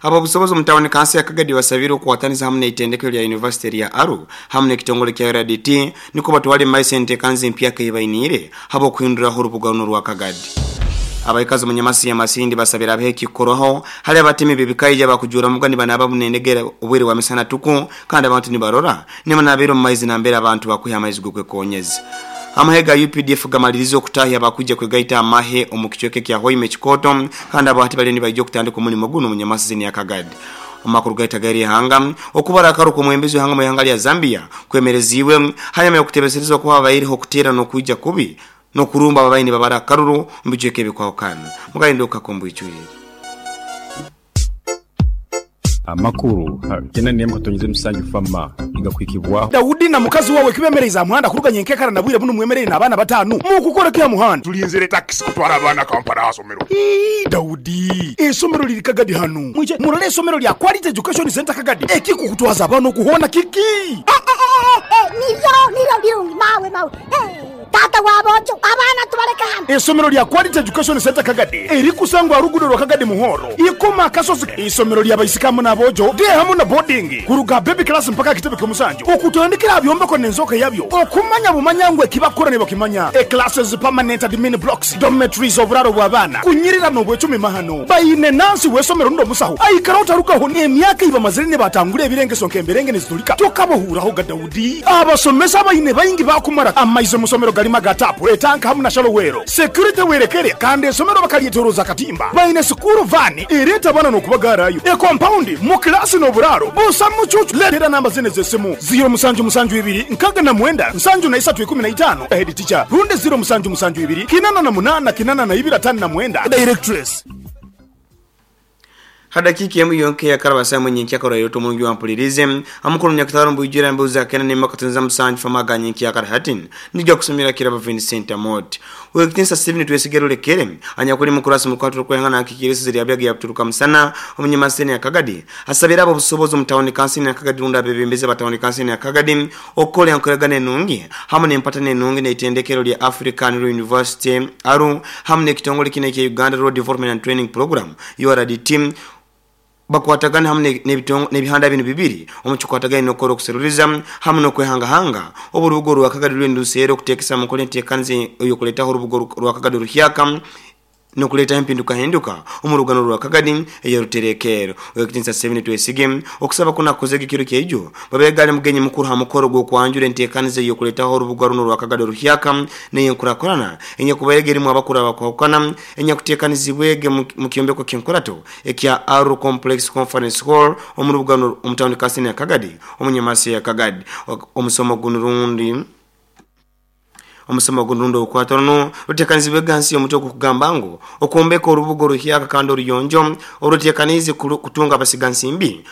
Abobusobozi omu tawuni kanso ya Kagadi basabire okukwataniza hamu n'eitendekero lya yunivasite erya Aruu hamu n'ekitongole kya URDT nikwo batwale mu maiso enteekaniza empyaka ei bainiire habw'okuhinduraho orubuga runu orwa Kagadi. Abaikazi omu Nyamasi ya Masindi basabire habeho ekikukorwaho hali abatemi b'ebikaija abakujuura muga nibanaaba bunendegere obwire bwa misana tuku kandi abantu nibarora nibanaabira omu maizi nambere abantu bakwiha amaizi g'okwekonyeza. Amahe ga updf gamalirize okutahya abakwija kwegaita amahe omu kicweka ekya Hoima ekikooto kandi abo hati baliyo nibaija okutandika omulimo gunu omu Nyamasizini ya Kagadi. Omu makuru gaitu ag'eri ihanga, okubara akaru k'omwembezi w'ihanga omu ihanga lya Zambia kwemereziibwe hanyuma y'okutebeserezibwa kuba habaireho okuteera n'okwija kubi n'okurumba ababaire nibabara akaruru omu bicweka ebikwahukana. Mugahinduka omu bwijwire. Amakuru ha Kena Nemu Katonyeze Musanju Fama nigakuhikibwaho. Daudi na mukazi wawe kibemereize aha muhanda kuruga nyenkekara na bwire bunu mwemereire n'abaana batanu. Mukukora ki aha muhanda? Tulinzire takisi kutwara abaana Kampala aha somero. Ii, Daudi, eisomero liri Kagadi hanu. Mwije murole eisomero lya Quality Education Centre Kagadi. Ekikukutwaza abaana oku hoona kiki? Eh, eh, eh, eh, nibyo, nibyo birungi, mawe, mawe. Eh. Taata wa boojo, abaana tubaleke hano. Eisomero lya Quality Education Centre Kagadi erikusangwa aha ruguudo rwa Kagadi Muhoro, Ikoma Akasozi. Eisomero lya baisiki hamu n'aboojo, day hamu na boarding, kuruga aha baby class mpaka aha kitebe ky'omusanju, okutandikira aha byombeko n'enzooka yabyo, okumanya bumanya ngu ekibakukora nibakimanya. E Classes, permanent admin blocks, dormitories, oburaaro bw'abaana, kunyirira n'obwecumi mahano. Baine nansi w'eisomero rundi omusaho aikaraho tarugaho emyaka ei bamazire nibatangura ebirengeso nk'emberenge nizitulika tokabahuuraho ga Daudi. Abasomesa abaine baingi baakumara amaizi omu somero garimu aga taapu, etanka hamu na shallow well. Security werekere kandi esomero bakaryetoroza akatimba. Baine sikuuru vaani ereeta abaana n'okubagaarayo. Ekompaundi mu kilaasi n'oburaaro busa mucuucu. Leetera namba zinu ez'esimu, ziiro musanju musanju ibiri nkaaga na mwenda nsanju na isatu ikumi na itaano, Head teacher, rundi ziiro musanju musanju ibiri kinana na munaana kinana na ibiri ataano na mwenda, Directress. Ha dakiika emu yonka eyakaraba saaha emwe nyenkyakara orairote omurungi wampuliriize amukuru munyakatagara omu bwijwire ambuuza akenda n'emu akatunza musanju famu aga nyenkyakara hati nija kusomera Kirabo Vincent Amooti. Ow'ekitinisa Stephen Twesige Rulekere anyakuli mukurasi omu rukwata orw'okwehangana nakikiira esizi lya Byagi yakuturuka musana omu Nyamaseni ya Kagadi asabire ab'obusobozi omu tawuni kansini ya Kagadi rundi abebembezi aba tawuni kansini ya Kagadi okukora enkoragana enungi hamu n'empatana enungi n'eitendekero lya African Rural University, ARU, hamu n'ekitongole kinu ekya Uganda Rural Development and Training Program, URDT, bakwatagane hamu n'ebihanda binu bibiri omu kikwatagaine n'okukora okuseruriza hamu n'okwehangahanga obu orubuga orwa Kagadi ruriyo niruseera okuteekesa mu nkora enteekaniza ey'okuleetaho orubuga orwa Kagadi oruhyaka n'okuleetaho empindukahinduka omu rugano rwa Kagadi ey'oruterekerro. Ow'ekitinisa Stephen Twesige okusaba kunu akukozege ekiro kyaijo bwabaire ali mugenyi mukuru ha mukoro gw'okwanjura enteekaniza ey'okuleetaho orubuga runu orwa Kagadi oruhyaka n'eyenkurakurana enyakubairege erimu abakuru abakwahukana enyakuteekanizibwege mu kyombeko ky'enkurato ekya Aruu Complex Conference Hall omu rubuga runu omu tawuni kansini ya Kagadi omu Nyamasi ya Kagadi. Omusomo gunu rundi Omusomo gunu rundi orukwata runu ruteekanizibwege hansi y'omutwe ogurukugamba ngu, Okwombeka Orubuga Oruhyaka Kandi Oruyonjo Oruteekaniize Kutunga Abasigansimbi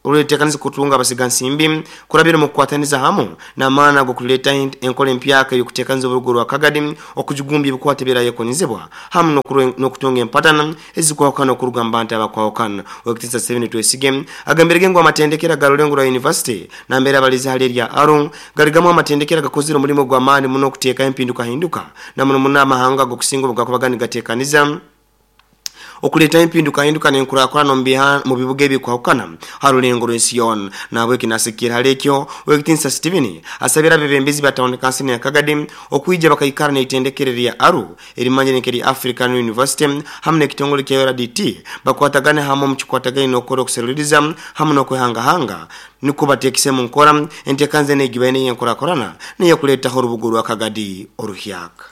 Oruteekaniize Kutunga Abasigansimbi Kurabira Omu Kukwataniza Hamu n'Amaani Ag'okuleetaho Enkora Empyaka Ey'okuteekaniza Orubuga Orwa Kagadi Okujugumbya Ebikwate Ebirayekonizibwa Hamu n'Okutunga Empatana Ezikwahukana Okuruga Mu Bantu Abakwahukana. Ow'ekitinisa Stephen Twesige agambirege ngu amatendekero aga Rurengo rwa University nambere abalize hali erya Aruu Gali gamu amatendekero agakozire omulimo gw'amaani muno okuteekaho empindukahinduka, na muno muno amahanga ag'okusinga obu gakubaga nigateekaniza okuleetaho empindukahinduka n'enkurakurana omu bibuga ebikwahukana ha rulengo rw'ensi yoona. Nahabweki nasigikirra hali ekyo, Ow'ekitinisa Stephen asabire abebembezi ba tawuni kansini ya Kagadi okwija bakaikara n'eitendekero erya Aruu erimanyire nk'erya African University hamu n'ekitongole kya URDT bakwatagane hamu omu kikwatagaine n'okukora okuseruliriza hamu n'okwehangahanga Nukwo bateekise omu nkora enteekaniza enu egibaine ey'enkurakurana n'ey'okuleetaho orubuga orwa Kagadi oruhyaka.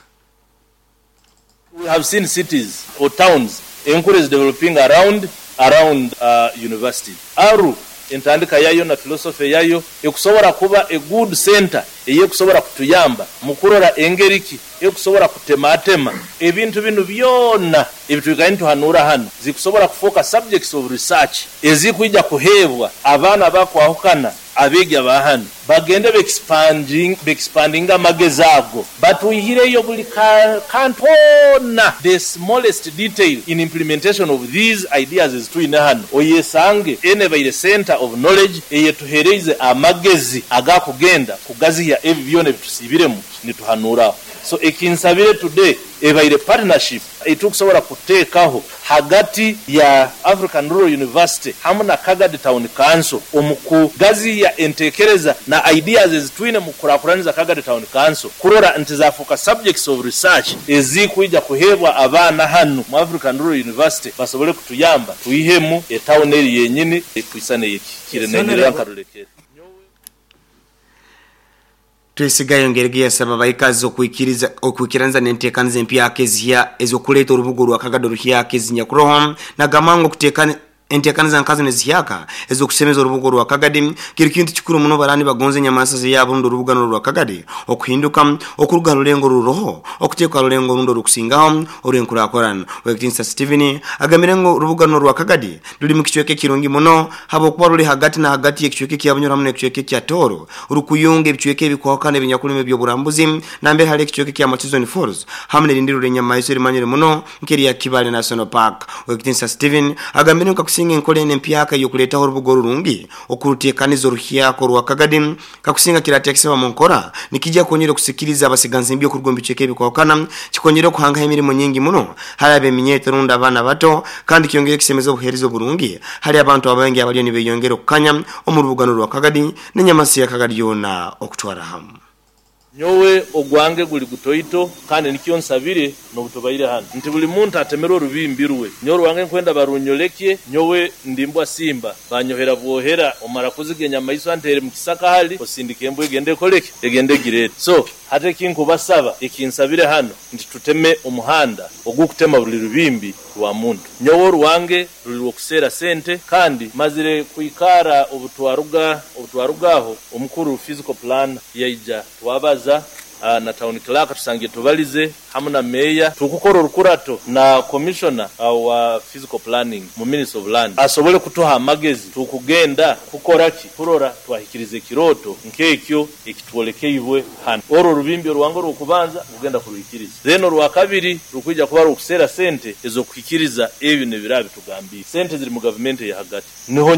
We have seen cities or towns enkuru ezi developinga around around universities. Aruu entandika yayo na philosophy yayo ekusobora kuba a good centre eyekusobora kutuyamba mukurora engeri ki ekusobora kutematema ebintu binu byona ebitwikaire nituhanuura hanu zikusobora kufooka subjects of research ezikwija kuheebwa abaana abakwahukana abeegi aba hanu bagende beexpandinge amagezi ago batwihireyo buli kantu koona the smallest detail in implementation of these ideas ezitwine hanu oyesange enu ebaire centre of knowledge eyetuhereize amagezi agakugenda kugazihya ebi byona ebitusiibiremu nituhanuuraho. So ekinsabire today ebaire partnership eitukusobora kuteekaho hagati ya African Rural University hamu na Kagadi Town Council omu kugaziya entekereza na ideas ezitwine mu kukurakuraniza Kagadi Town Council kurora nti zafuuka subjects of research ezikwija kuheebwa abaana hanu mu African Rural University basobole kutuyamba twihemu etawuni eri yenyini ekwisana eyekikire nenyerera nkarulekere. Twesigayo ngerege yasaba baikazi okuikiriza okuikiranza n'enteekaniza empyaka ezihya ez'okuleeta orubuga orwa Kagadi oruhyaka ezinyakuroho nagamango okuteekana enteekaniza nkazo nezihyaka ez'okusemeza orubuga orwa Kagadi kiri kintu kikuru muno barani bagonze enyamaswa zeyabo rundi orubuga rwa Kagadi okuhinduka okuruga rulengo ruroho okuteeka rulengo rundi orukusingaho orw'enkurakurana. Wekitinsa Steven agambire ngu orubuga rwa Kagadi ruri mu kicweka ekirungi muno habwokuba ruri hagati na hagati y'ekicweka ekya Bunyoro hamwe n'ekicweka ekya Toro rukuyunga ebicweka ebikwahukana ebinyakulima eby'oburambuzi nambere hari ekicweka ekya Murchison Falls hamwe n'erindi ruri enyamaiswa erimanyire muno nk'erya Kibale National Park. Wekitinsa Steven agambire ngu kakusinga enkola eno empyaka ey'okuleetaho orubuga orurungi okuruteekaniza oruhyaka orwa Kagadi kakusinga kirateekesebwa mu nkora nikijja kwongera okusikiriza abasiganzimbi okuruga omu bicweka ebikwahukana kikongera okuhangaho emirimo nyingi muno hali ab'eminyeeto rundi abaana bato kandi kyongere kusemeza obuheereza oburungi hali abantu abaingi abaliyo nibeyongera okukanya omu rubugano rwa Kagadi n'enyamasi ya Kagadi yoona okutwara hamu. Nyowe ogwange guli gutoito kandi nikyo nsabire n'obutubaire hanu nti buli muntu atemerwe orubimbi rwe. Nyowe orwange nkwenda barunyolekye, nyowe ndi mbwa simba banyohera bwohera omara kuziga enyamaiswa ntere mu kisaka hali osindika embwa egende ekoleke egende egirete. So hati ekinkubasaba ekinsabire hanu nti tuteme omuhanda ogukutema buli rubimbi rwa muntu. Nyowe orwange ruli rw'okuseera sente kandi mazire kwikara obutwaruga aho omukuru physical plan yaija twabaza na town clerk tusangiye tubalize hamu na meya tukukora orukurato na commissioner wa physical planning mu Ministry of Land asobole kutuha amagezi tukugenda kukora ki kurora twahikiriza ekiroto nk'ekyo ekitwolekeibwe hano. Orwo rubimbi orwange orw'okubanza kugenda kuruhikiriza, then orwa kabiri rukwija kuba rw'okuseera sente ez'okuhikiriza ebyo n'ebiraba bitugambiire. Sente ziri mu gavumenti eya hagati niho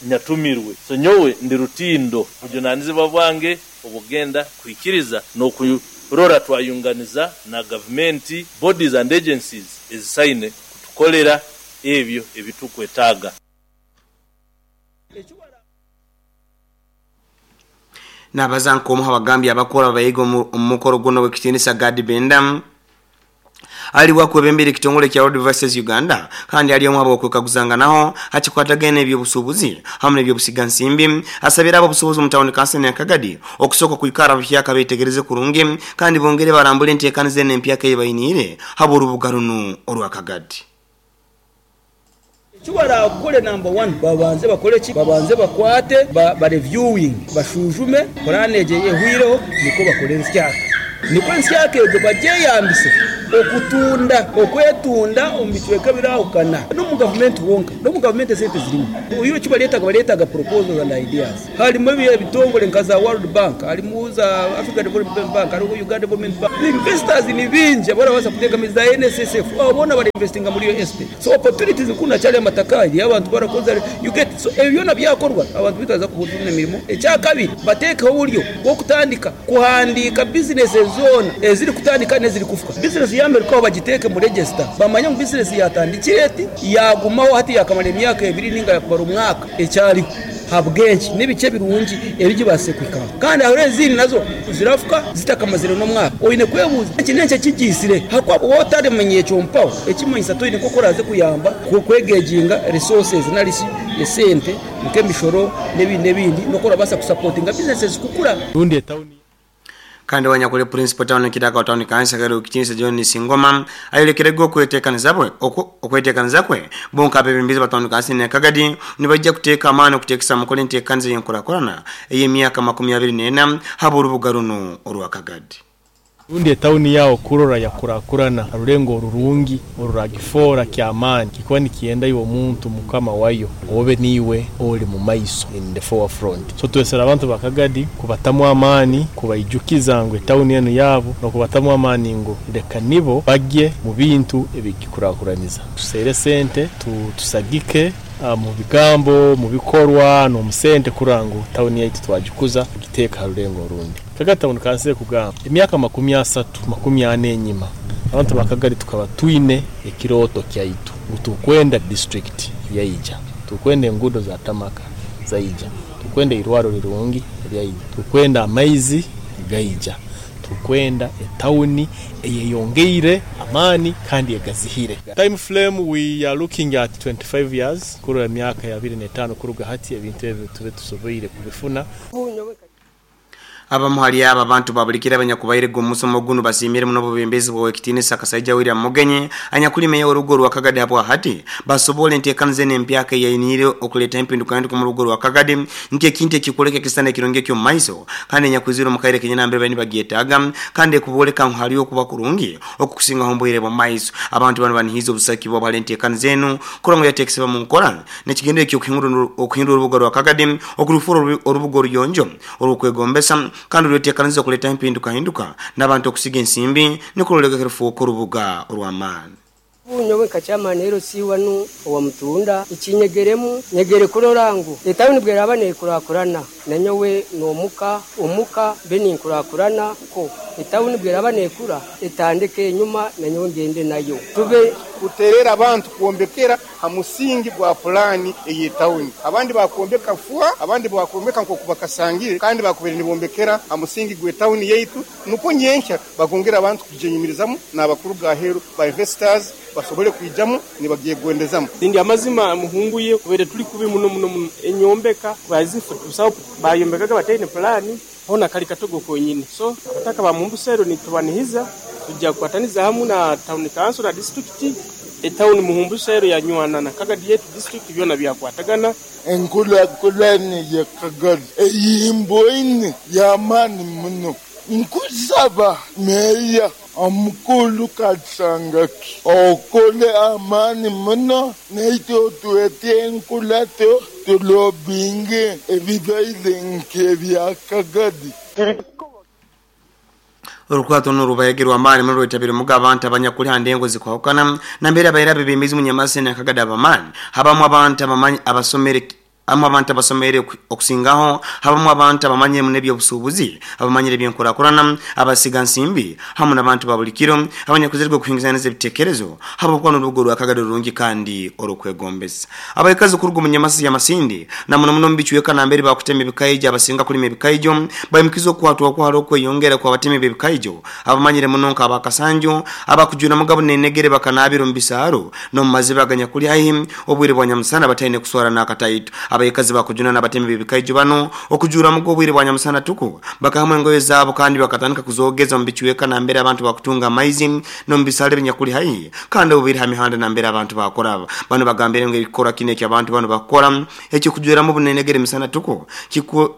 nyatumirwe, so nyowe ndi rutindo bujunanizibwa bwange obugenda kuhikiriza n'okurora twayunganiza na gavumenti bodies and agencies ezisaine kutukolera ebyo ebitukwetaaga. Nabaza nk'omu abagambi abakora abayiga omu mukoro guno w'ekitiinisa Gadi Benda ali wakwebembera ekitongole kya Road Devices Uganda kandi ali omu abo okwekaguzanganaho hakikwatagana n'ebyobusuubuzi hamwe n'ebyobusigansimbi asabira abo obusuubuzi omu tawuni kansani ya Kagadi okusooka kwikara buhyaka betegereze kurungi kandi bongere barambule enteekaniza eno empyaka ei bainiire habw'orubuga runu orwa Kagadi. Eki baraakore namba wani, babanze bakore ki? Babanze bakwate ba reviewing, bashujume puraani egyo ehweireho nikwo bakore ensyaka. Nikwo ensyaka egyo bagyeyambise okutunda, okwetunda omu bicweka ebirahukana. N'omu gavumenti honka, n'omu gavumenti esente zirimu. Oihireho eki bareetaga, bareetaga proposals and ideas. Harimu ebitongore nka za World Bank, harimu za Africa Development Bank, hariho Uganda Development Bank. Investors ni baingi abarabaasa kuteekamu za NSSF, abo boona barainvestinga muri real estate. So opportunities kunu hakyariho amataka, hariyo abantu barakoze, you get. So ebyo byona byakorwa, abantu baitu baraza kubona emirimo. Ekyakabiri, bateekeho oburyo bw'okutandika kuhandiika bizinesi zoona ezirikutandika n'ezirikufa. Bizinesi yaamerukaho bagiteeke omu register, bamanye ngu bizinesi yaatandikire eti, yaagumaho hati yaakamara emyaka ebiri nainga yaakumara omwaka ekyariho. Habw'enki? N'ebiki ebirungi ebi gibaasize kuhikaho? Kandi hariho ezindi nazo zirafuka zitakamazire n'omwaka. Oine kwebuuza, Eki n'enki ekigiitsire? Ahakuba waaba otaramanya ekyo mpaho, ekimanyisa toine nk'oku oraaze kuyamba kwegejinga resources nari shi esente nk'emishoro n'ebindi n'ebindi n'oku orabaasa kusapotinga bizineses kukura. Rundi etawuni. Kandi owanyakuli Principal Town Clerk wa Town Council Kagadi Kitinisa John Singoma ayolekerege okwetekaniza bwe okwetekaniza kwe bo nk'abebembezi ba Town Council ya Kagadi nibaija kuteeka amaani okuteekesa mukora enteekaniza ey'enkurakurana ey'emyaka 24 habw'orubuga runu orwa Kagadi. Rundi etawuni yawe kurora yakurakurana ha rulengo orurungi oruragifoora ky'amaani kikuba nikiyenda iwe omuntu mukama wayo obe niiwe oli mu maiso, in the forefront. So twesere abantu ba Kagadi kubatamu amaani, kubaijukiza ngu etawuni enu yaabo n'okubatamu amaani ngu leka nibo bagye mu bintu ebigikurakuraniza. Tuseere sente, tusagike mu bigambo, mu bikorwa n'omu sente kurora ngu tawuni yaitu twagikuza tugiteeka ha rulengo orundi. Kagadi Town Council ekugamba emyaka 30, 40 enyima abantu ba Kagadi tukaba twine ekirooto kyaitu ngu tukwenda district yaija, tukwenda enguudo za tamaka zaija, tukwenda eirwaro rirungi ryaija, tukwenda amaizi gaija, tukwenda etawuni eyeyongeire amaani kandi egazihire. Time frame we are looking at 25 years, kurora emyaka ya 25 kuruga hati ebintu ebyo tube tusoboire kubifuna. Abamu hali abo abantu babulikira abanyakubairega omu musomo gunu basiimire muno obubembezi bwa Owekitinisa Kasaija William Mugenyi anyakuli meya w'orugo rwa Kagadi habwa hati basobole enteekaniza enu empyaka eyainiire okuleeta empindukahinduka omu rugo rwa Kagadi nk'ekintu ekikwoleka ekisisani ekirungi eky'omu maiso kandi enyakwizire omu kaire kenyini nambere bali nibagyetaaga kandi ekubooleka ngu haliyo okuba kurungi okukusingaho omu bwire bw'omu maiso. Abantu banu banihiize obusagiki bwabo hali enteekaniza enu kurora ngu yateekesebwa mu nkora n'ekigendererwa eky'okuhindura orubuga rwa Kagadi okurufuura orubuga oruyonjo orw'okwegombesa kandi orweteekaniza okuleetaho empindukahinduka n'abantu okusiga ensimbi nukwo ruleke rufuuke orubuga orw'amaani. Nyowe nka chairman LC wanu owa Mutunda, ekinyegeremu, nyegere kurora ngu etawuni bweraba nekurakurana, nanyowe nomuka omuka mbe ninkurakurana ko etawuni bweraba nekura etandike enyuma nanyowe ngende nayo tube. Kuterera abantu kwombekera ha musingi gwa pulaani ey'etawuni. Abandi bakwombeka fua, abandi bakwombeka nk'oku bakasangire, kandi bakubaire nibombekera ha musingi gw'etawuni yaitu nukwo nyenkya bakongera abantu kugyenyumirizamu n'abakuruga aheeru ba investors basobole kwijamu nibagyegondezamu. Ndi amazima muhunguye kubaire tuli kubi muno muno muno. Enyombeka bazifu busaho bayombekaga bataine pulaani hona kali katogo konyini. So abataka ba Mumbusero nitubanihiza tujja kukwataniza hamu na tawuni kanso na disiturikiti. Etawuni Muhumbusero yanywana na Kagadi yetu disiturikiti byona byakwatagana. Enkurakurana ya Kagadi eyimboine y'amaani muno. Nkusaba Meeya omukuru Kasangaki okole amaani muno naitwe otwete enkurato tulobinge ebibaire nk'ebya Kagadi. Orukurato runu rubaire rw'amaani muno rwetabirwemuga abantu abanyakuli ha ndengo zikwahukana nambere abaire abebembezi omu Nyamasene na Kagadi ab'amaani habamu abantu abasomere Habamu abantu abasomeire okusingaho, habamu abantu abamanyire muno eby'obusuubuzi, abamanyire eby'enkurakurana, abasiga nsimbi, hamu n'abantu ba buli kiro abanyakwizirwe kuhingusaniza ebitekerezo habwokuba n'orubuga orwa Kagadi orurungi kandi orw'okwegombesa. Abaikazi kuruga omu Nyamasi ya Masindi na muno muno omu bicweka nambere bakutema ebikaijo abasinga kulima ebikaijo baimukize okukwatwakwo hali okweyongera kw'abatemi b'ebikaijo abamanyire muno nka aba Kasanju abakujwira mugabo n'enegere bakanaabira omu bisaaro n'omu maziba aganyakuli haihi Obwire bwa nyamusana bataine kuswara n'akataito. Abaikazi bakujuna n'abatemi b'ebikaijo banu okujuuramuga obwire bwa nyamusana tuku. Bakahamu engoye zaabo kandi bakatandika kuzoogeza omu bicweka nambere abantu bakutunga amaizi n'omu bisaali ebinyakuli haihi kandi obu biri ha mihanda nambere abantu bakuraba. Banu bagambire ngu ekikorwa kinu eky'abantu banu bakukora eky'okujweramu obunenegere emisana tuku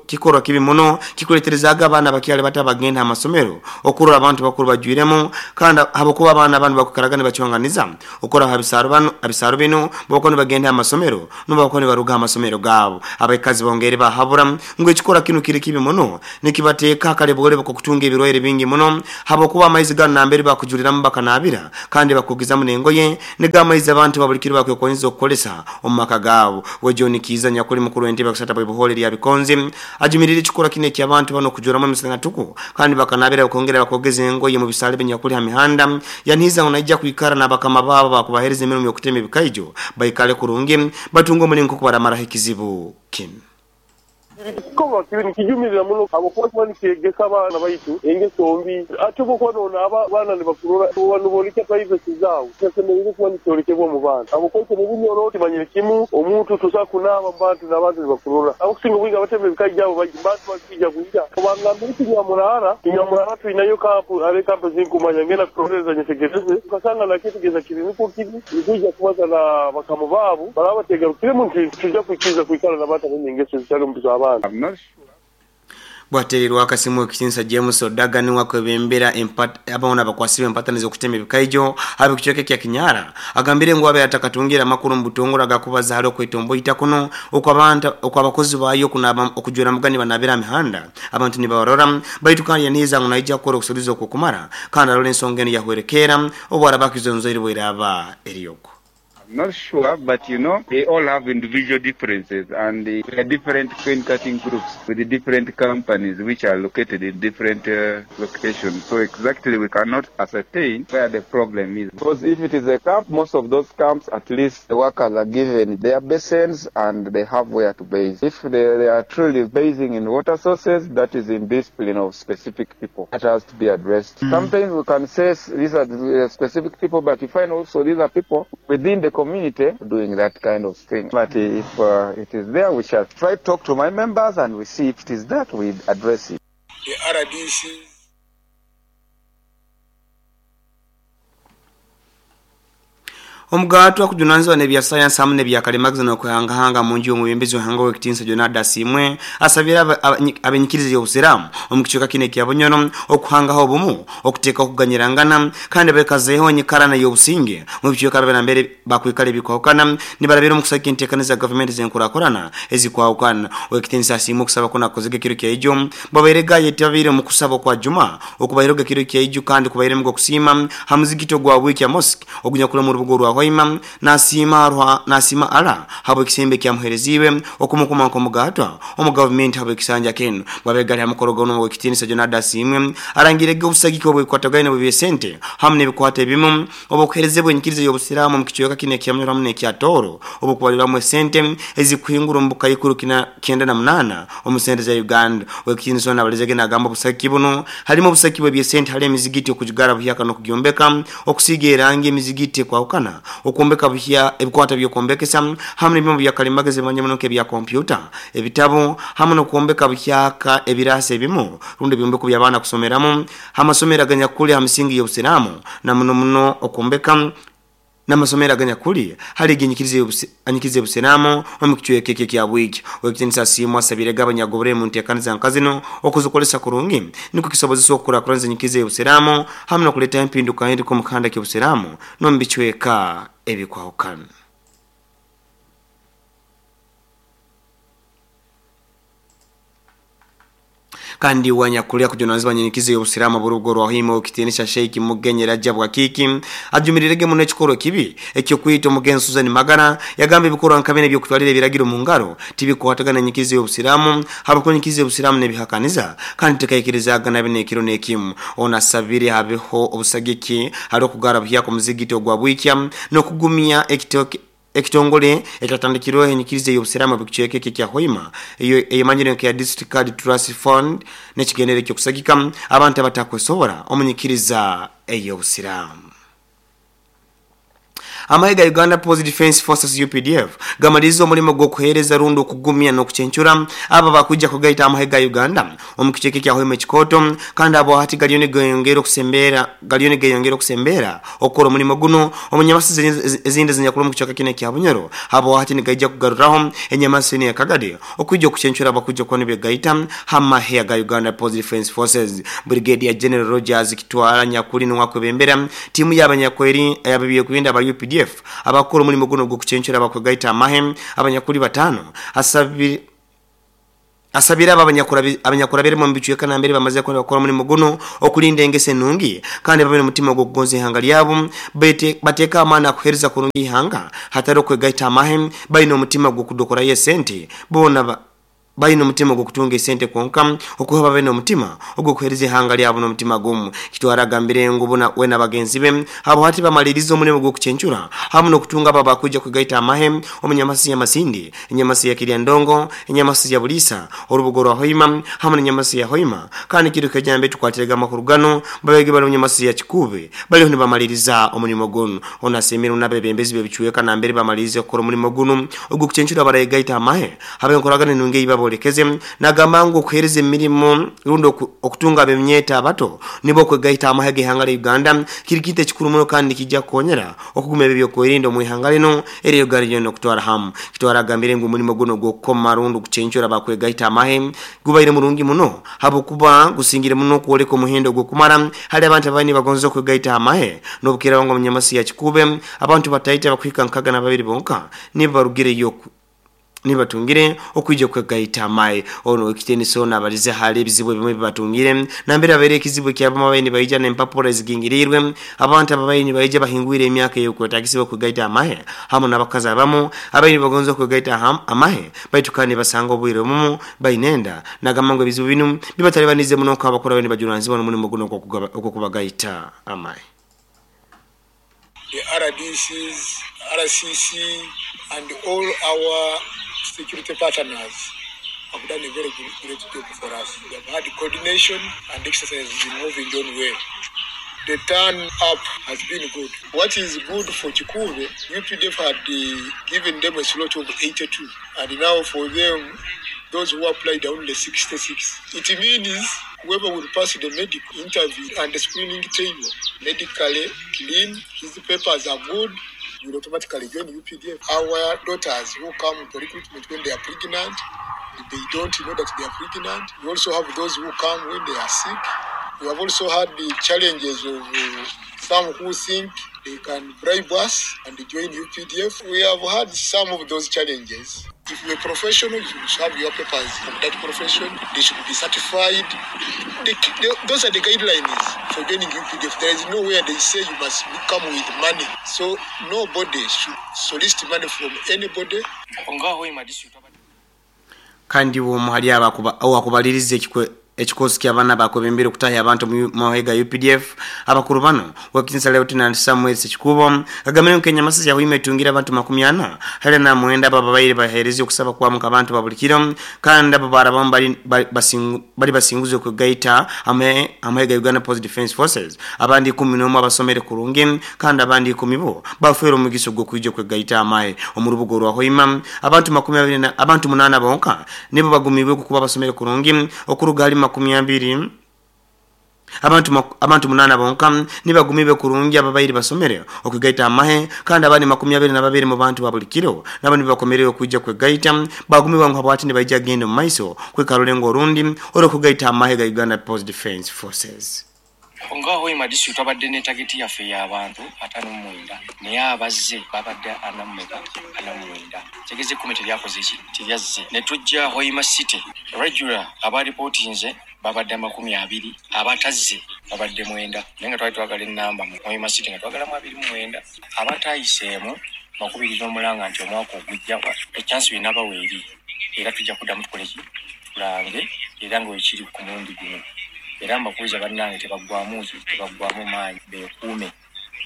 kikorwa kibi muno kikuleterezaaga abaana abakyali bato abagenda ha masomero okurora abantu bakuru bajwiremu kandi habwokuba abaana banu bakwikaraga nibacwanganiza Okuraba ha bisaaro binu, babakuba nibagenda ha masomero n'obu bakuba nibaruga ha masomero gaabo. Abaikazi bongeire bahabura ngu ekikorwa kinu kiri kibi muno, nikibateeka ha kaleboolebo k'okutunga ebirwaire bingi muno habwokuba amaizi ganu nambere bakujuliramu bakanaabira kandi bakogezamu n'engoye nigo amaizi abantu ba buli kiro bakwekonyeza okukozesa omu maka gaabo. We John Kiiza nyakuli mukuru w'entebe ya kusatu bw'Ibuhoole erya Bikonzi ajumirire ekikorwa kinu eky'abantu banu okujuramu emisana tuku kandi bakanaabira bakongera bakogeza engoye mu bisaale ebinyakuli ha mihanda Yanihiza ngu naija kwikara n'abakama baabo abakubaheereza emirimo y'okutema ebikaijo baikale kurungi, batunge omulingo nk'oku baramaraho ekizibu kinu. Ekikorwa kibi nikijumirira muno habwokuba kiba nikyegesa abaana baitu engeso mbi. Hati obu okuba nonaaba abaana nibakurora, oba noboolekya privacy zaawe. Kitasemeriire kuba nikyolekebwa omu baana habwokuba itwe omu Bunyoro tumanyire kimu omuntu tosobora kunaaba omu bantu n'abantu nibakurora. Abakusinga obwingi abatema ebikaija abo bantu bakwija kwija obangambire Kinyamurara, Kinyamurara twinayo kampu hariho ekampu ezinkumanya ngenda kurolereza nyetegereze okasanga nakyetegereza kiri nukwo kiri nitwija kubaza na bakama baabo baraba bategarukiremu nitwija kwikiriza kwikara n'abantu abaine engeso ezitali omu z'abaana. Bwatereirwe akasimu Owekitinisa James Odaga niwe akwebembera abamu nabakwasibwa empataniza okutema ebikaijo abekicweka ekya Kinyara agambire ngu abaire atakatungire amakuru omubutongore agakubaza hali okwetomboita kuno okwabakozi bayo okunaaba okujwera muga nibanabira aha mihanda abantu nibabarora baitu kandi yanihiza ngu naija kukora okusuruza okwokumara kandi arole ensonga enu yahwerekeera obwaraba akizonzoire bweraba eri okwo. Not sure, but you know, they all have individual differences and they are different cane cutting groups with different companies which are located in different locations. So exactly we cannot ascertain where the problem is. Because if it is a camp, most of those camps, at least the workers are given their basins and they have where to base. If they are truly basing in water sources, that is indiscipline of specific people. That has to be addressed. Sometimes we can say these are the specific people, but you find also these are people within the community doing that kind of thing. But if it is there, we shall try to talk to my members and we see if it is that, we address it. The RDC Omugato akujunanizwa n'ebya sayansi hamu n'ebyakalimagezi n'okuhangahanga mu nju y'omwebembezi w'ihanga ow'ekitiinisa Jonada Asiimwe asabire abenyikiriza y'obusiraamu omu kicweka kinu ekya Bunyoro okuhangaho obumu okuteeka okuganyirangana kandi bekazeeho enyikarana y'obusinge mu bicweka byabere bakwikara ebikwahukana nibarabira omu kusagika enteekaniza za gavumenti z'enkurakurana ezikwahukana. Ow'ekitiinisa Asiimwe okusaba kuno akozege ekiro kya ijo babaire gayetabire omu kusaba kwa Juma okubaireho ekiro kya ijo kandi kubairemu okusiima ha muzigiti ogwa Bwikya Mosque ogunyakura mu rubuga orwa Hoima nasima ala habo ekisembe kyamuhereziwe okumukuma nkomugatwa omu government habo ekisanja kenu babegali hamukorogono w'ekitiinisa Jonada Asiimwe arangirege obusagiki obwekwatagaine bw'ebisente hamu n'ebikwata ebimu obukuherezebwa enyikiriza y'obusiraamu mu kicweka kino ekya Munyoro hamu n'ekya Tooro obukubaliramu esente ezikuhingura omu bukaikuru 98 omu sente za Uganda. Ow'ekitiinisa ono abalezege n'agamba obusagiki buno harimu obusagiki bw'ebyesente hali emizigiti okugigara buhyaka n'okugyombeka, okusiiga erangi emizigiti ekwahukana, okwombeka buhya ebikwata by'okwombekesa hamwe n'ebyoma byakalimagezi bimanye muno nk'ebya kompyuta, ebitabo hamwe n'okwombeka buhyaka ebirasi ebimu rundi ebyombeko by'abaana kusomeramu amasomero aganyakuli ha misingi y'obusiraamu na muno muno okwombeka n'amasomero aganyakuli hali eginyikiriza y'obusiraamu omu kicweka eki ekya Bwiki. Ow'ekitiinisa Asiimwe asabire abanyagobere mu nteekaniza nka zino okuzikolesa kurungi nikwo kisobozesa okukurakuraniza enyikiriza y'obusiraamu hamwe n'okuleeta empinduka eriko omu kihanda ky'obusiraamu n'omu bicweka ebikwahukana. Kandi wanyakulya kujunanizibwa nyenyikizo y'obusiraamu burugo rwa Hoima ow'ekitiinisa Sheikh Mugenyi Rajab Wakiki ajumirirege muno ekikorwa kibi ekyokwita omugenzi Susan Magara yagamba ebikorwa nka bino ebyokutwalira ebiragiro mu ngaro tibikwatagana n'enyikizo y'obusiraamu habwokuba enyikizo y'obusiraamu n'ebihakaniza kandi tekaikirizaga na bino ekiro n'ekimu. Ono asabire habeho obusagiki hali okugara buhyaka omuzigiti ogwa Bwikya n'okugumya ekitongole ekyatandikirweho enyikiriza y'obusiraamu bw'ekicweka eki ekya Hoima eyo eyemanyire nka District Card Trust Fund n'ekigendere ky'okusagika abantu abatakwesobora omu nyikiriza ey'obusiraamu. Amahe ga Uganda People's Defence Forces UPDF gamaliriza omulimo gw'okuheereza rundi okugumya n'okucencura abo bakwijja kugaita amahe ga Uganda omu kicweka ekya Hoima ekikooto kandi abo hati galiyo nigeyongera okusembera okukora omulimo guno omu nyamasi ezindi ezinyakura omu kicweka kino ekya Bunyoro abo hati nigaija kugaruraho enyamasi eno ya Kagadi okwijja okucencura abakwijja kuba nibegaita hamahe ga Uganda People's Defence Forces. Brigadier General Rogers Kitwara nyakuli niwakwebembera tiimu y'abanyakweri ab'ebyokwerinda aba UPDF abakora omulimo guno ogw'okucencura abakwegaita amahe abanyakuli batano asabira abo abanyakurabiremu omu bicweka nambere bamaze kukora omulimo guno okulinda engeso enungi kandi babe n'omutima ogw'okugonza ihanga lyabo bateeka amaani akuheereza kurungi ihanga hatari okwegaita amahe baine omutima gw'okudokorayo esente boona baine omutima ogw'okutunga esente kwonka okuha babe n'omutima ogw'okuheereza ihanga lyabo n'omutima gumu. Kitwara agambire ngu we na bagenzi be abo hati bamaliriza omulimo gw'okucencura hamu n'okutunga abo abakwija kwegaita amahe omu nyamasi ya Masindi, enyamasi ya Kiryandongo, enyamasi ya Bulisa, orubugo rwa Hoima hamu n'enyamasi ya Hoima kandi kiro kejambe tukwatirega amakuru gano babege bali omu nyamasi ya Kikube baliho nibamaliriza omulimo guno. Ono asiimire n'abebembezi b'ebicweka nambere bamalirize kukora omulimo guno ogw'okucencura barayegaita amahe habe enkoragana enungi ei babolekeze nagamba ngu okuheereza emirimo rundi okutunga ab'emyeta abato nibo okwegaita amahe g'ihanga lya Uganda kiri kintu ekikuru muno kandi kijja kukonyera okuguma ebyo ebyokwerinda omu ihanga lino eryo Uganda lyona okutwara hamu. Kitwara agambire ngu omulimo guno ogw'okukoma rundi okucencura abakwegaita amahe gubaire murungi muno habwokuba gusingire muno okwoleka omuhendo ogw'okumara hali abantu abaine nibagonza okwegaita amahe n'obukiraho ngu omu nyamasi ya Kikube abantu bataita bakuhika 62 bonka nibo barugireyo Nibatungire okwija kwegaita amahe. Ono ekitiinisa ono abalize hali ebizibu ebimwe ebibatungire nambere abaire ekizibu ekyabamu abaine nibaija n'empapura ezigingiriirwe. Abantu ababaire nibaija bahingwire emyaka ey'okwetagisibwa kwegaita amahe hamu n'abakazi abamu abaire nibagonza okwegaita amahe baitu kandi nibasanga obwire obumu baine enda. Nagamba ngu ebizibu binu bibatalibaniize muno nk'abakuru abaire nibajunanizibwa n'omulimo gunu ogw'okubagaita amahe. The RDCs, RCC, and all our security partners have done a very good, great job for us. We have had coordination and exercise has been moving on well. The turn up has been good. What is good for Kikuube, UPDF had given them a slot of 82, and now for them, those who applied are only 66. It means whoever will pass the medical interview and the screening table, medically clean, his papers are good, will automatically join UPDF. Our daughters who come for recruitment when they are pregnant, they don't know that they are pregnant. We also have those who come when they are sick. We have also had the challenges of some who think they can bribe us and join UPDF. We have had some of those challenges. If you're a professional, you should have your papers from that profession. They should be certified. Those are the guidelines for joining UPDF. There is nowhere they say you must come with money. So nobody should solicit money from anybody. Kandi uwo hali abakubaliriza ekikosi ky'abaana bakwebembere okutahya abantu mu mahega UPDF. Abakuru bano wakinsa Lieutenant Samuel Sekikubo agambire ngu Kenya Masasi yahwima etungira abantu 49 ababaire bahereze okusaba kwamuka abantu babulikiro kandi abo barabamu bari basinguze okugaita amahega Uganda Post Defense Forces, abandi 11 abasomere kurungi kandi abandi 10 bo bafere omugiso gw'okwija kwegaita amahe. Omu rubuga rwa Hoima abantu 20 na abantu 8 bonka nibo bagumibwe kuba basomere kurungi okuruga hali 20 abantu 8 bonka nibagumibe kurungi ababairi basomere okugaita amahe kandi abandi 22 mu bantu babulikiro nabo nibakomerere okujja kwegaita bagumiwa ngu habwati nibaija genda mu maiso kwekarulengo orundi orokugaita amahe ga Uganda Post Defense Forces. Nga Hoima district abadde ne target yaffe y'abantu 59 naye abazze babadde 49 tegeze 10 teryakoze ki teryazze. Ne tujja Hoima City regular abareportinze babadde 20, abatazze babadde 9, naye nga twali twagala ennamba mu Hoima City nga twagalamu 29, abatayiseemu 29 nti omwaka ogujja echansi binabawa eri era tujja kuddamu tukole ki tulange era nga wekiri ku mulundi guno. Era mbakuuza bannange tebaggwamu maanyi, beekuume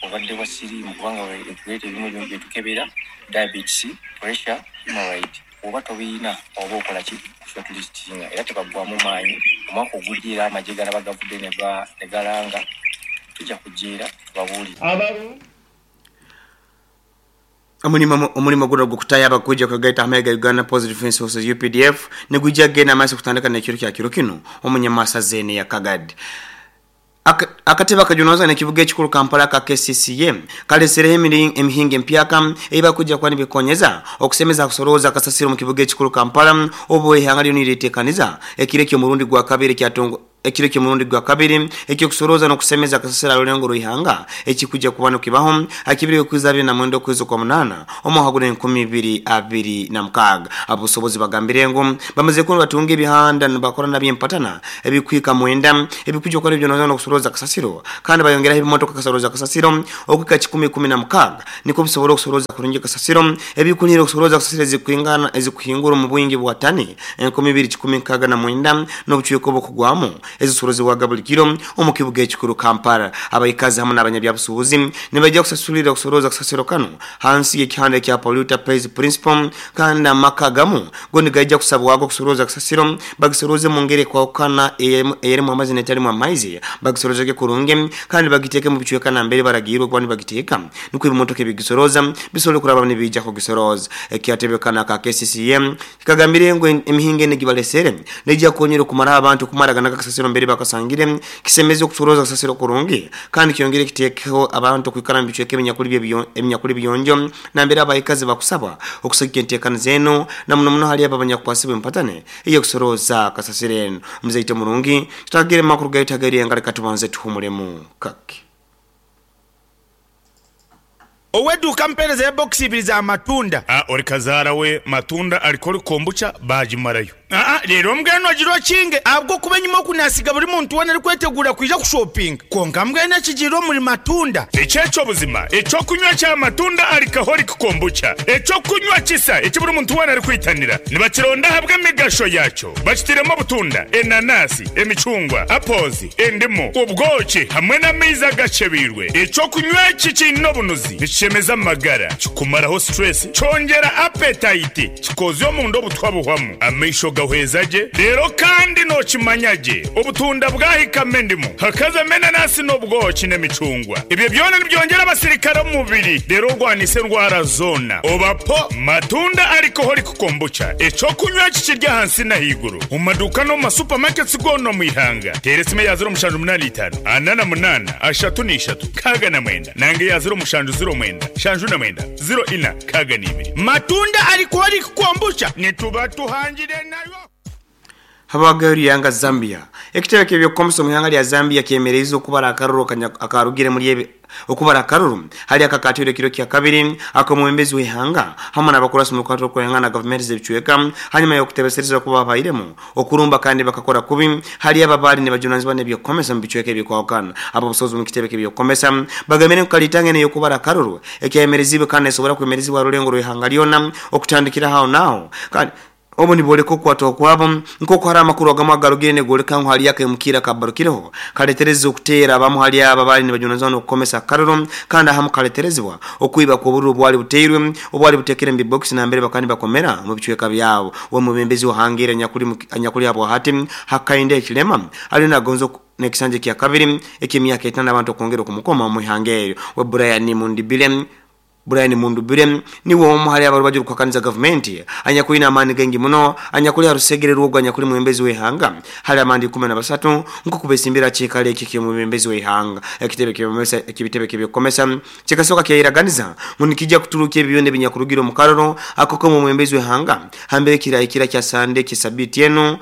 obadde bwa siriimu kubanga etuleeta ebimu byetukebera diabetes, pressure, hemorrhoid. Oba tobiina oba okola ki shortlistinga era tebaggwamu maanyi. Omwaka ogujja era amagye galaba gavudde ne galanga tujja kujja era tubabuulire. Omulimo guno gw'okutaya abakujja kwegaita amahega Uganda Post Defense Forces UPDF negujja genda amaaso kutandika n'ekiro kya kiro kino omunyamasa zene ya Kagadi. Akatebe akajunoza n'ekibuga ekikulu Kampala ka KCCA kalesereho emihinga empyaka ebakujja kuba nibikonyeza okusemeza kusorooza akasasiro mu kibuga ekikulu Kampala obu ihanga lyo niriteekaniza ekiro ky'omurundi gwa kabiri kyatongo ekiro ky'omurundi gwa kabiri ekyokusorooza n'okusemeza akasasiro alulengo rw'ihanga ekikujja kuba nokibaho akibiri okuza 29 okwezi kwa 8 omwaka gwa 2026. Abusobozi bagambire ngu bamaze kuba batunga ebihanda nibakora nabyempatana ebikwika mwenda ebikujja okukola ebyonoza n'okusorooza akasasiro kandi bayongeraho ebimotoka kasorooza akasasiro okwika 116 niko bisobola okusorooza kurungi akasasiro ebikunira okusorooza akasasiro ezikuingana ezikuhingura mu bwingi bwa tani 2169 n'obucweko bw'okugwamu ezisorozebwaga buli kiro omu kibuga ekikulu Kampala. Abaikazi hamwe n'abanyabyabusuubuzi nibajja kusasulira okusorooza akasasiro kano hansi y'ekihanda ekya polluter pays principle kandi amaka gamu go nigajja kusabwago okusorooza akasasiro bagisorooze mu ngeri ekwawukana eyerimu amaizi n'etarimu amaizi bagisorozege kurungi kandi bagiteeke mu bicweka nambere baragirwe kuba nibagiteeka nikwo ebimotoka ebigisorooza bisobole kuraba nibijja kugisorooza. Ekyatebekana ka KCCA kikagambire ngu emihinga eno egibalesere nejja kukonyera okumaraho abantu kumaragana akasasiro mbere bakasangire kisemeze okusorooza akasasiro kurungi kandi kyongere kiteekeho abantu okwikara mu bicweka ebinyakuli biyonjo nambere abaikazi bakusaba okusagika enteekaniza zeno na muno muno hali abo abanyakukwasibwa empatane ey'okusorooza akasasiro eno. Muzeite murungi tutagire makuru gaitu agari engari katubanze tuhumulemu kake. Ow'eduuka mpeerezeyo bokisi ibiri za matunda. A Ori kazaara we matunda alikori kombucha baagimarayo. Aa Reero mbwenu ogira okinge ahabw'okuba enyima oku naasiga buri muntu weena arikweteguura kwija kushopinga. Kwonka mbwenu ekigiire omuri matunda. Eki eky'obuzima, eky'okunywa kya matunda alcoholic kombucha, eky'okunywa kisa eki buri muntu weena arikwitanira. Nibakironda ahabw'emigasho yaakyo. Bakitairemu obutunda, enanasi, emicungwa, apples, endimu, obwoki hamwe n'amaizi agakyebeirwe. Eky'okunywa eki kiine obunuzi, nikishemeza amagara, kikumaraho stress, kyongyera appetite, kikozya omunda obutwa buhwamu, amaisho gahweza gye, reero kandi nookimanya gye obutunda bwahikamu endimu, hakazamu enanasi n'obwoki n'emicungwa. Ebyo byona nibyongyera abasirikare omu mubiri reero orwanise endwara zoona. Oba po Matunda Alcoholic Kombucha, eky'okunywa eki kiri ahansi n'ahaiguru omu maduuka n'omu ma supermarkets goona omu ihanga. Teera esimu eya 0785 48 33 69 nanga eya 0709 79 04 62. Matunda Alcoholic Kombucha nituba tuhangire nayo. Habwagayo ihanga Zambia. Ekitebe ky'ebyokukomesa omu ihanga lya Zambia kyemereize okubara akaruru akarugire muri ebi okubara akaruru hali akakatwire ekiro kya kabiri ak'omwebembezi w'ihanga hamu n'abakurasi mu rukwata rw'okwehangana na gavumenti z'ebicweka hanyuma y'okutebesereza kuba habairemu okurumba kandi bakakora kubi hali abo abaali nibajunanizibwa n'ebyokukomesa mu bicweka ebikwahukana. Ab'obusobozi omu kitebe ky'ebyokukomesa bagambire ngu kalitanga enu ey'okubara akaruru ekyayemerezibwe kandi nesobora kwemerezibwa ha rulengo rw'ihanga lyona okutandikira aho n'aho kandi Obu nibooleka okukwatwaho kwabo, nk'oku haroho amakuru agamu agarugire nigooleka ngu haliyo akaimukiirro akabarukireho kaletereza okuteera abamu hali abo abaali nibajunanizibwa n'okukomesa akaruru kandi ahamu kaleterezebwa okwiba kw'obururu obwali buteirwe obwali butekere omu bibokisi nambere bakaba nibakomera omu bicweka byabo. Uwe mwebembezi w'ohangaire anyakuli habwahati Hakainde Hichilema aliyo nagonza n'ekisanja ekyakabiri eky'emyaka etaano abantu okwongera okumukoma omu ihanga eryo. We Brian Mundibile Brian Mundubile niwe omu hali abarubaju orukuhakaniza gavumenti anyakwine amaani gaingi muno anyakuli ha rusegere rw'ogu anyakuli mwebembezi w'ihanga hali abandi 13 nkoku besimbire ha kiikaro eki eky'omwebembezi w'ihanga. Ekitebe ekibitebe ky'ebyokukomesa kikasoka kyayeraganiza ngu nikija kuturukya ebi byona ebinyakurugire omu karoro ako k'omwebembezi w'ihanga hambere kirahikira kya Sande eky'esabiiti enu.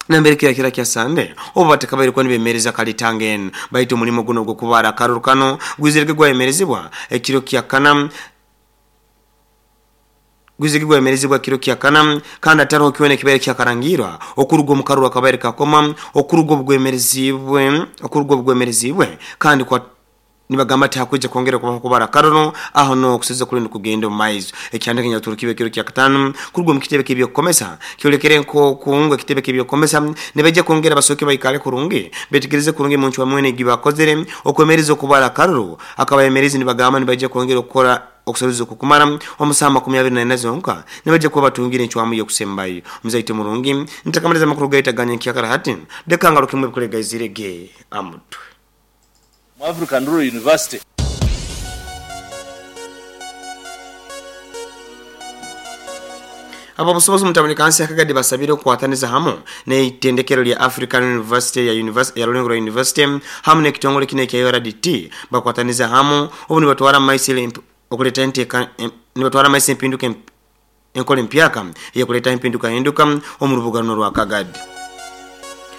Nambere kirakira kya Sande obu batakabaire kuba nibemereza kalitanga enu. Baitu omulimo gunu ogw'okubaara akaruru kanu gwizirege gwayemerezibwa ekiro kya kana gwizirege gwayemerezibwa kiro kya kana kandi hataroho kyona ekibaire kyakarangiirwa okuruga omu karuru akabaire kakoma okuruga obugwemerezibwe okuruga obugwemerezibwe kandi kwa Nibagamba tihakwija kwongera kubaho kubara akaruru aho nuho okuseza kuli nikugenda omu maiso. Ekihandiiko ekinyakuturukibwe ekiro kyakataano kuruga omu kitebe ky'eby'okukomesa kyolekere nk'oku ngu ekitebe ky'eby'okukomesa nibaija kwongera basooke baikale kurungi betegereze kurungi emuncwamu enu egibakozere okwemereza okubara akaruru. Akabayemerezi nibagamba nibaija kwongera okukora okusorooza okukumara omu saaha 24 zonka nibaija kuba batungire encwamu y'okusembayo. Muzaito murungi, ntakamaliza amakuru gaitu aga nyenkyakara hati, leka ngarukemu ebikuru egaizire ge amutwe. Mu African Rural University. Ab'obusobozi omu tawuni kansi ya Kagadi basabire okukwataniza hamu n'eitendekero lya African University ya ya Rurengo Rural University hamu n'ekitongole kinu ekya URDT bakwatanize hamu obu nibatwara mu maiso okuleta enteka nibatwara mu maiso empinduka Enkora empyaka ey'okuleetaho empindukahinduka omu rubuga runu orwa Kagadi.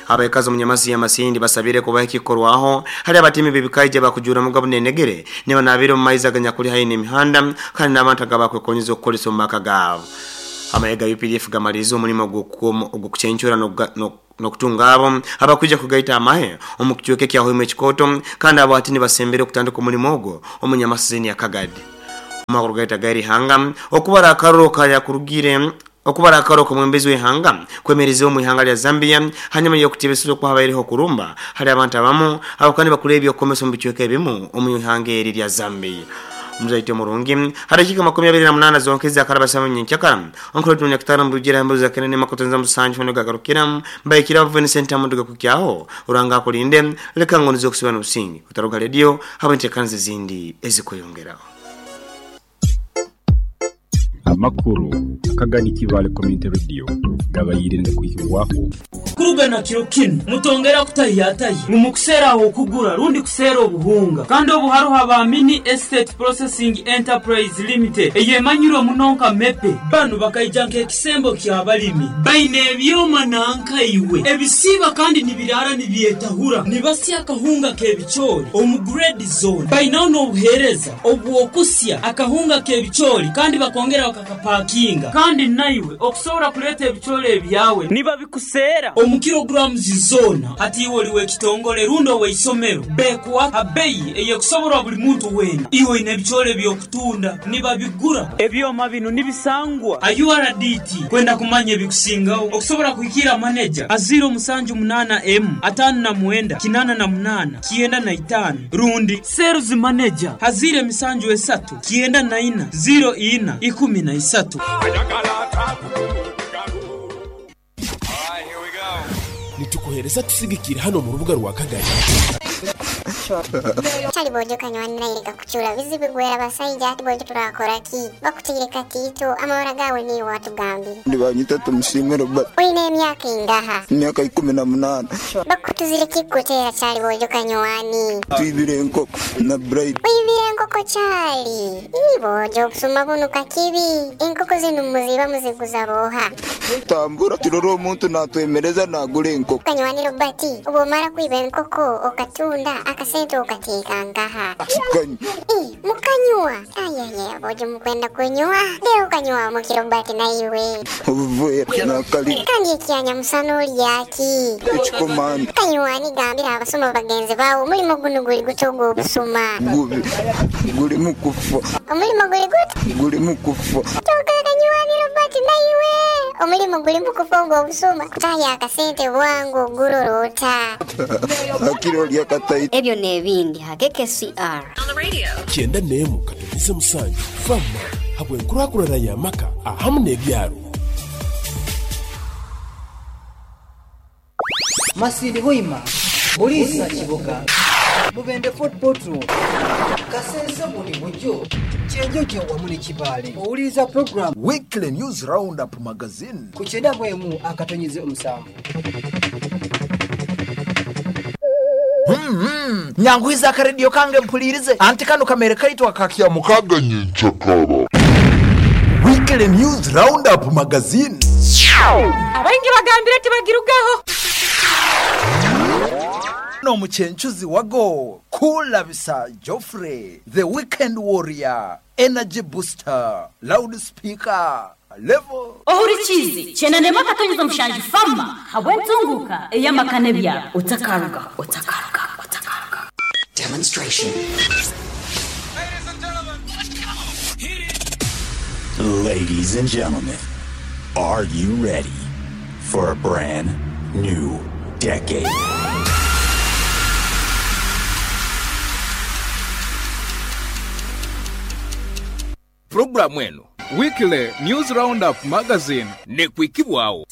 Abaikazi omu nyamasi ya Masindi basabire kubaho ekikukorwaho hali abatemi b'ebikaija abakujuuramuga bunenegere nibanaabira omu maizi aganyakuli haihi n'emihanda kandi n'abantu agabakwekonyeza okukozesa omu maka gaabo. Amahe ga updf gamalirize omulimo ogw'okucencura n'okutunga abo abakwija kugaita amahe omu kicweka ekya Hoima ekikooto kandi abo hati nibasembera okutandika omulimo ogwo omu nyamasizeni ya Kagadi. Omu gaita g'eri ihanga, okubara akaruru kayakurugire okubara akaruru k'omwebembezi w'ihanga kwemereziibwe omu ihanga lya Zambia hanyuma y'okutebeseza oku habaireho okurumba hali abantu abamu abakuba nibakora eby'okukomesa omu bicweka ebimu omu ihanga eri erya Zambia. Omuzaito omurungi, ha dakiika 28 zonka ezakaraba saawa nyenkyakara, Onkole tunonya kutara mbugira mbuza kene nema kutonza musanju hono gagarukira mbaikira Vincent amuduga kukyaho Ruhanga akulinde leka ngonize okusiba nobusinge otaruga radio habwe entekaniza ezindi ezikweyongeraho. Amakuru akagani Kibaale Community Radio gabaire nigakwihibwaho. Okuruga na kiro kinu mutongera kutahiyatahi ngu mukuseera aho okugura rundi kuseera obuhunga. Kandi obu haroho aba Mini Estate Processing Enterprise Limited eyemanyirwe muno nka MEPE. Banu bakaija nk'ekisembo ky'abalimi. Baine ebyoma nanka iwe ebisiiba kandi nibiraara nibyetahura nibasya akahunga k'ebicoori omu grade zoona. Bainaho n'obuheereza obw'okusya akahunga k'ebicoori kandi bakongera bakakapakinga. Kandi naiwe okusobora kuleeta ebicoori ebyawe nibabikuseera omu kilograms zoona. Hati iwe oli w'ekitongole rundi ow'eisomero, bekuha ha beyi ey'ekusoborwa buli muntu weena. Iwe oine ebicoori eby'okutunda, nibabigura. Ebyoma binu nibisangwa ha URDT. Kwenda kumanya ebikusingaho, okusobora kuhikiira maneja ha 078 emu 59 88 95 rundi Sales Manager ha 073 94 04 13. Nitukuheereza tusigikire hano omu rubuga rwa Kagadi. Kyali bojo kanywani naire gakucura bizibu gwera basaija ati bojo turakora ki? Bakutaire katiito amabara gawe niiwe watugambire. Nibanyeta Tumusiime Robert. Oine emyaka ingaha? Emyaka 18. Bakutuzire ki kukutera kyali bojo kanywani? Twibire enkoko na Bright. Oibire enkoko kyali? Ii bojo obusuma bunu kakibi. Enkoko zinu muziiba muziguza booha? Tambura turore omuntu natwemereza nagura enkoko. Kanywani Robert, obwomara kwiba enkoko okatunda, akasente okateeka nkaha? Tukanywa. Ii, mukanywa? Ayeye, bojo mukwenda kunywa? Lero okanywa muki Robert naiwe? Obuveera nakali. Kandi ekyanyamusana olya ki? Ekikomando. Kanywani gambira abasuma bagenzi bawe omulimo gunu guli guta ogw'obusuma? Gubi, gulimu kufa. Omulimo guli guta? Gulimu kufa. Kyoka Kanywani Robert naiwe! Omulimo gulimu kufa ogw'obusuma. Kutahya akasente bwangu ogurora ota? Hakiri olya kataito. Ebyo n'ebindi ha KKCR. 91.7 Fama habw'enkurakurana y'amaka ahamu n'ebyaro. Masindi Hoima, Buliisa Kiboga, Mubende Fort Portal, Kasese Bundibugyo, Kyenjojo wamu ne Kibaale. Owuliriza pulogulaamu Weekly News Roundup Magazine ku 91.7. Nyanguhiza akarediyo kange mpulirize anti kano kamere kaitu akakya mukaga nyenkyakara. Weekly News Roundup Magazine. Abaingi bagambire tibagirugaho. N'omuchenchuzi wago Kulabisa Geoffrey, the weekend warrior, energy booster, loudspeaker, level. Ohurikiize kyenda 1.7 Fama habw'entunguka ey'amaka n'ebyaro otakaruga otakaruga otakaruga. Demonstration. Ladies and gentlemen, are you ready for a brand new decade? Puroguramu eno Weekly News Roundup Magazine nekwikibwawo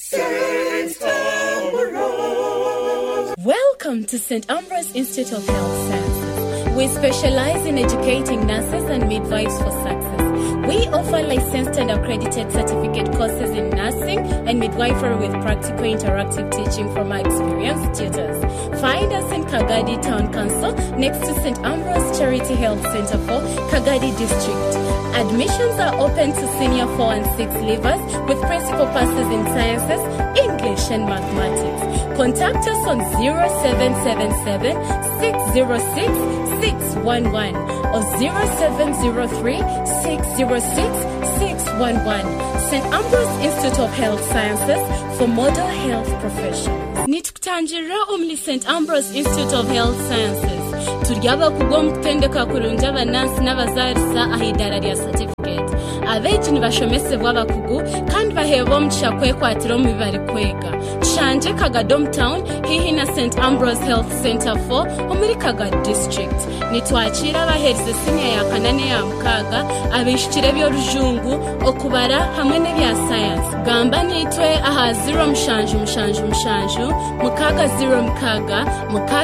Welcome to St. Ambrose Institute of Health Sciences. We specialize in educating nurses and midwives for success. We offer licensed and accredited certificate courses in nursing and midwifery with practical interactive teaching from our experienced tutors. Find us in Kagadi Town Council next to St. Ambrose Charity Health Center for Kagadi District. Admissions are open to senior 4 and 6 leavers with principal passes in sciences, English and mathematics. Contact us on 0777 606 611 or 0703 606 611. St. Ambrose Institute of Health Sciences for model health professionals. Nitukutangira omuli St. Ambrose Institute of Health Sciences. Turi abakugu omu kutendeka kurungi abanansi n'abazaarisa aha idaara rya certificate. Abeegi nibashomesebwa abakugu kandi baheebwa omugisha kwekwatira omu bi barikwega. Tushangye Kagadi Town haihi na St. Ambrose Health Center 4 omuri Kagadi District. Nitwakiira abaheerize siniya ya kana n'eya mukaaga, abaishukire eby'orujungu, okubara hamwe n'ebya sayansi. Gamba naitwe aha 0777 606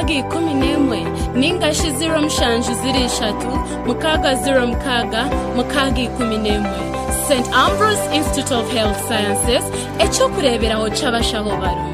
611 ningashi 0703 606 611. St. Ambrose Institute of Health Sciences, ekyokureeberaho ky'abashaho barungi.